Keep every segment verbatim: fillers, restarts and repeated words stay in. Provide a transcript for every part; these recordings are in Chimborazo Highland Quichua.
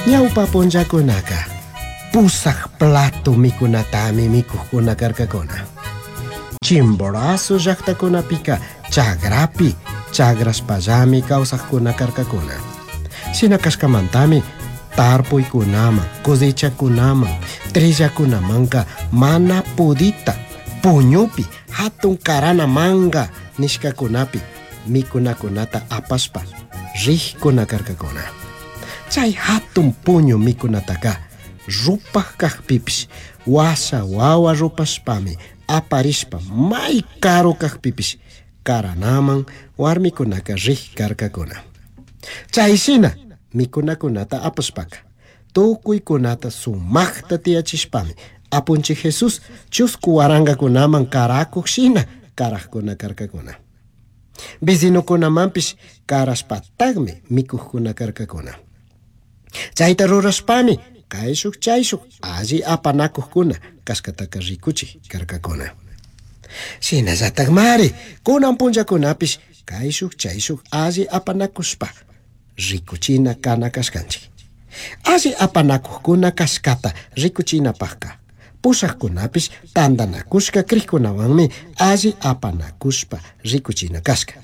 Ñawpa punllakunaka pusaj plato mikunatami mikujkuna karkakuna. Chimborazo llaqtakunapika chagrapi chagraspallami kawsaqkuna karkakuna. Shina kashkamantami tarpuykunaman, cosechakunaman, trillakunamanka mana pudita puñupi hatun karana manga nishkakunapi mikunakunata apashpa rijkuna karkakuna. Chay hatun puñu mikunataka rupaj kajpipish washa wawa rupashpami aparishpa may karu kajpipish karanaman warmikunaka rij karkakuna. Chay shina mikunakunata apashpaka tukuykunata sumaqta tiyachishpami apunchik Jesús chusku warangakunaman karakuq shina karaqkuna karkakuna. Vecinokunamanpish karashpataqmi mikuqkuna karkakuna. Chayta rurashpami kayshuk chayshuk alli apanakuqkuna kashkataka rikuchik karkakuna. Shinallatakmari kunan punllakunapish kayshuk chayshuk alli apanakushpa rikuchina kana kashkanchik. Alli apanakuqkuna kashkata rikuchinapaqka pushaqkunapish tantanakushka krikkunawanmi alli apanakushpa rikuchina kashka.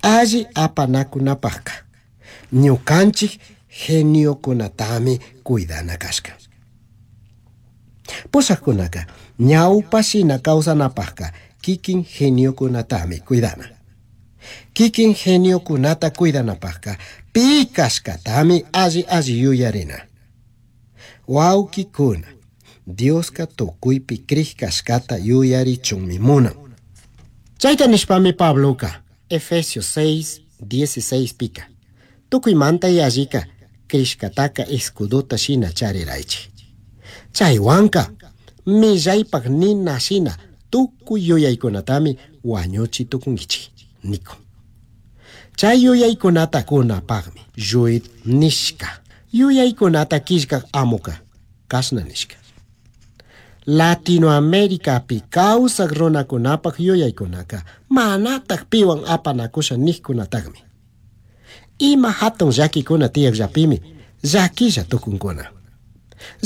Alli apanakunapaqka ñukanchik geniokunatami cuidana kashka. Pushaqkunaka ñawpa shina kawsanapaqka kikin geniokunatami cuidana. Kikin geniokunata cuidanapaqka pi kashkatami alli alli yuyarina. Wawkikuna, Dioska tukuypi krij kashkata yuyarichunmi munan. Chayta nishpami Pabloka Efesios seis dieciséis pika tukuymanta yallika krishkataka escudota shina chariraychik. Chaywanka millaypaq nina shina tukuy yuyaykunatami wañuchi tukunkichik niko. Chay yuyaykunata kunapaqmi Juid nishka yuyaykunata killkaq amuka kashna nishka. Latinoamericapi kawsaq runakunapaq yuyaykunaka manataq piwan apanakusha niqkunataqmi. Ima hatun llakikuna tiyaqllapimi llakilla tukunkuna.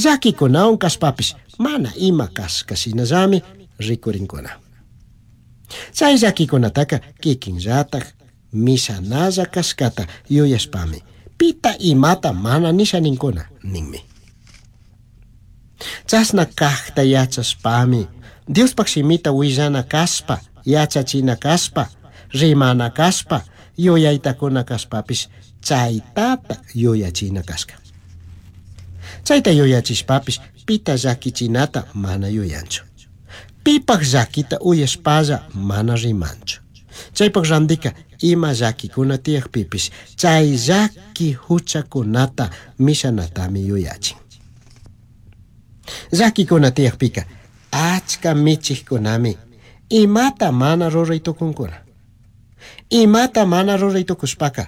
Llakikunawan kashpapish mana ima kashkashinallami rikurinkuna. Chay llakikunataka kikinllataq mishanalla kashkata yuyashpami pita imata mana nisha ninkuna ninmi. Chashna kaqta yachashpami Diospaq shimita willana kashpa, yachachina kashpa, rimana kashpa, yuyaytakuna kashpapish chaytata yuyachina kashka. Chayta yuyachishpapish pita llakichinata mana yuyanchu. Pipaq llakita uyashpalla mana rimanchu. Chaypaq randika ima llakikuna tiyaqpipish chay llaki huchakunata mishanatami yuyachin. Llakikuna tiyaqpika achka michiqkunami imata mana ruray tukunkuna. Imata mana ruray tukushpaka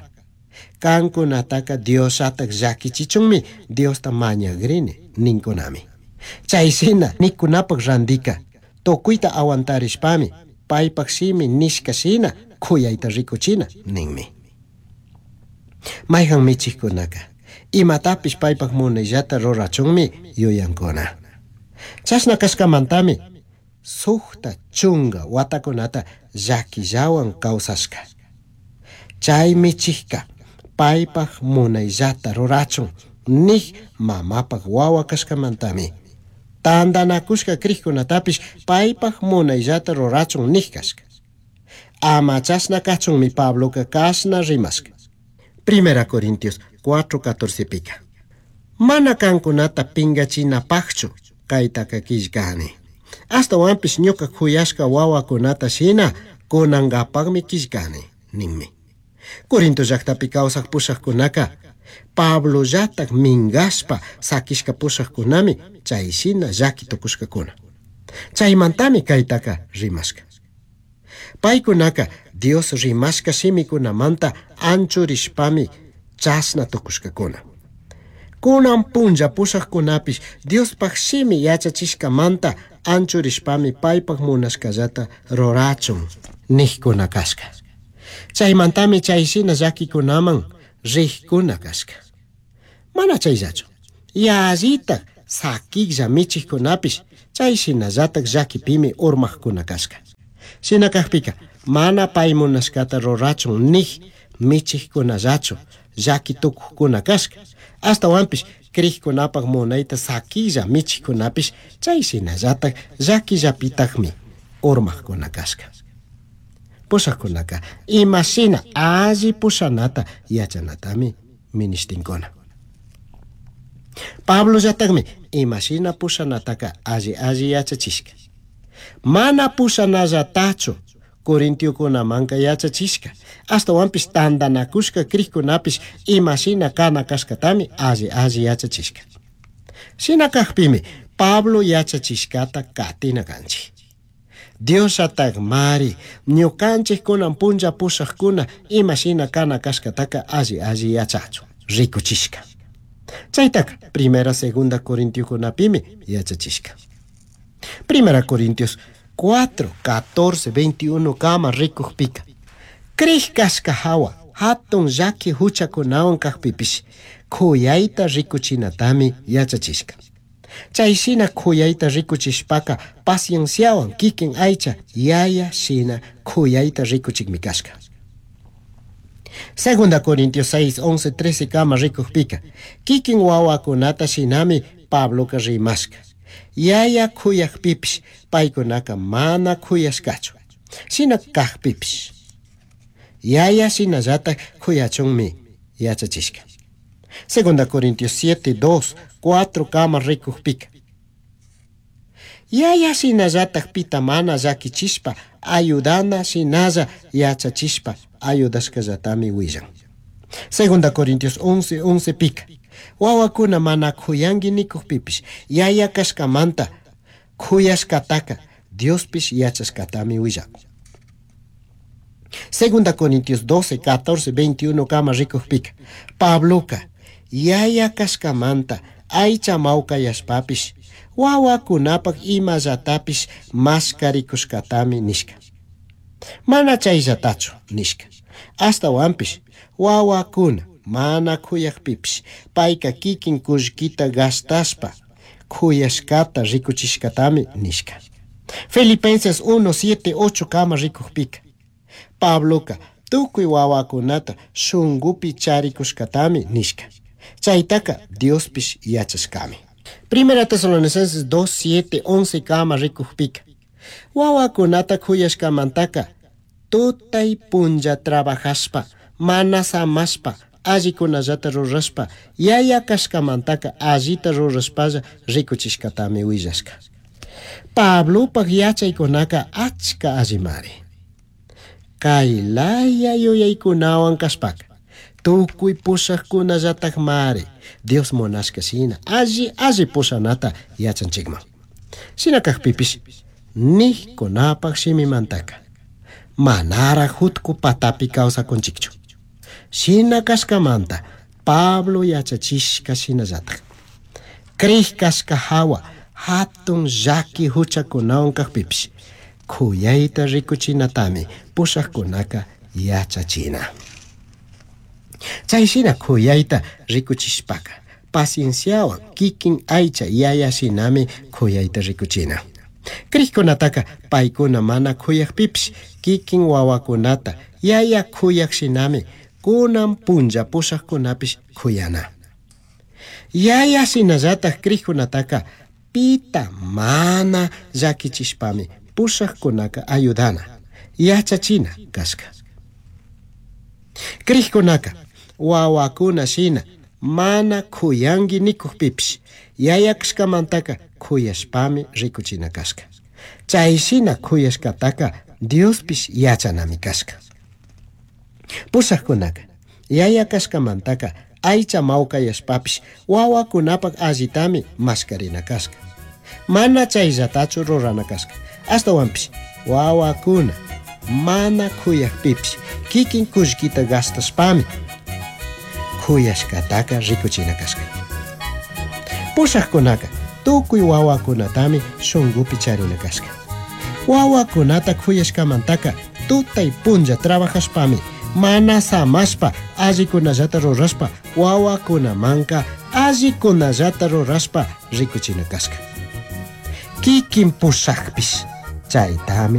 kankunataka Diosataq llakichichunmi Diosta mañagrini ninkunami. Chay shina nikunapaq randika tukuyta aguantarishpami paypaq shimi nishka shina kuyayta rikuchina ninmi. Mayhan michiqkunaka imatapish paypaq munayllata rurachunmi yuyankuna. Chashna kashkamantami sukta chunga watakunata llakillawan kawsashka. Chay michikka paypaq munayllata rurachun nik mamapaq wawa kashkamantami tantanakushka krikkunatapish paypaq munayllata rurachun nik kashka. Ama chashna kachunmi Pabloka kashna rimashka. Primera Corintios cuatro catorce pika. Mana kankunata pingachinapaqchu kaytaka killkani. Ashtawanpish ñuka kuyashka wawakunata shina kunankapaqmi killkani ninmi. Corinto llaqtapi kawsaq pushaqkunaka Pablollatak minkashpa sakishka pushaqkunami chay shina llaki tukushkakuna. Chaymantami kaytaka rimashka. Paykunaka Dios rimashka shimikunamanta anchurishpami chashna tukushkakuna. Kunan punlla pushaqkunapish Diospaq shimi yachachishkamanta anchurishpami paypaq munashkallata rurachun niqkuna kashka. Chaymantami chay shina llakikunaman riqkuna kashka. Mana chayllachu. Yallitaj sakiklla michijkunapish chay shinallataj llakipimi urmajkuna kashka. Shina kajpika mana pay munashkata rurachun nij michijkunallachu llaki tukujkuna kashka. Ashtawanpish crijkunapaj munayta sakilla michijkunapish chay shinallataj llakillapitajmi urmajkuna kashka. Pushajkunaka imashina alli pushanata yachanatami minishtinkuna. Pablollatajmi imashina pushanataka alli alli yachachishka. Mana pushanallatachu Corintiokunamanka yachachishka. Ashtawanpish tantanakushka crijkunapish imashina kana kashkatami alli alli yachachishka. Shina kajpimi Pablo yachachishkata katina kanchik. Diosllataj mari ñukanchik kunan punlla pushajkuna imashina kana kashkataka alli alli yachachun rikuchishka. Chaytaka primera segunda Corintiokunapimi yachachishka. Primera Corintios cuatro, catorce, veintiuno kama rikujpika. Crij kashka hawa hatun llaki huchakunawan kajpipish kuyayta rikuchinatami yachachishka. Chay shina kuyayta rikuchishpaka pacienciawan kikin aycha yaya shina kuyayta rikuchikmi kashka. Segunda Corintios seis, once, trece kama rikujpika. Kikin wawakunata shinami Pabloka rimashka. Yaya kuyajpipish paykunaka mana kuyashkachu. Shina kajpipish. Yaya shinallataj kuyachunmi yachachishka. Segunda Corintios siete, dos, cuatro kama rikujpika. Yaya shinallataj pita mana llakichishpa ayudana shinalla yachachishpa ayudashkallatami willan. Segunda Corintios once, once pika. Wawakuna mana kuyanki nikujpipish yaya kashkamanta kuyashkataka Diospish yachashkatami willakun. Segunda Corintios doce, catorce, veintiuno kama rikujpika. Pabloka yaya kashkamanta aycha mawkayashpapish wawakunapak imallatapish maskarikushkatami nishka. Mana chayllatachu nishka. Ashtawanpish wawakuna mana kuyajpipish payka kikin kullkita gastashpa kuyashkata rikuchishkatami nishka. Filipenses uno, siete, ocho kama rikujpika. Pabloka tukuy wawakunata shunkupi charikushkatami nishka. Chaytaka Diospish yachashkami. Primera Tesalonicenses dos, siete, once kama rikujpika. Wawakunata kuyashkamantaka tutay punlla trabajashpa mana samashpa allikunallata rurashpa yaya kashkamantaka allita rurashpalla rikuchishkatami willashka. Pablopaj yachaykunaka achka allimari. Kay laya yuyaykunawan kashpaka tukuy pushajkunallataj mari Dios munashka shina alli alli pushanata yachanchikman. Shina kajpipish nijkunapaj shimimantaka manara jutku patapi kawsakunchikchu. Shina kashkamanta Pablo yachachishka shinallataj. Crij kashka hawa hatun llaki huchakunawan kajpipish kuyayta rikuchinatami pushajkunaka yachachina. Chay shina kuyayta rikuchishpaka pacienciawan kikin aycha yaya shinami kuyayta rikuchina. Crijkunataka paykuna mana kuyajpipish kikin wawakunata yaya kuyaj shinami kunan punlla pushajkunapish kuyana. Yaya shinallataj crijkunataka pita mana llakichishpami pushajkunaka ayudana yachachina kashka. Crijkunaka wawakuna shina mana kuyanki nikujpipish yaya kashkamantaka kuyashpami rikuchina kashka. Chay shina kuyashkataka Diospish yachanami kashka. Pushajkunaka yaya kashkamantaka aycha mawkayashpapish wawakunapak allitami maskarina kashka. Mana chayllatachu rurana kashka. Ashtawanpish wawakuna mana kuyajpipish kikin kullkita gastashpami kuyashkataka rikuchina kashka. Pushajkunaka tukuy wawakunatami shunkupi charina kashka. Wawakunata kuyashkamantaka tutay punlla trabajashpami mana samashpa allikunallata rurashpa wawakunamanka Allikunallata rurashpa rikuchina kashka. Kikin pushakpish chaytami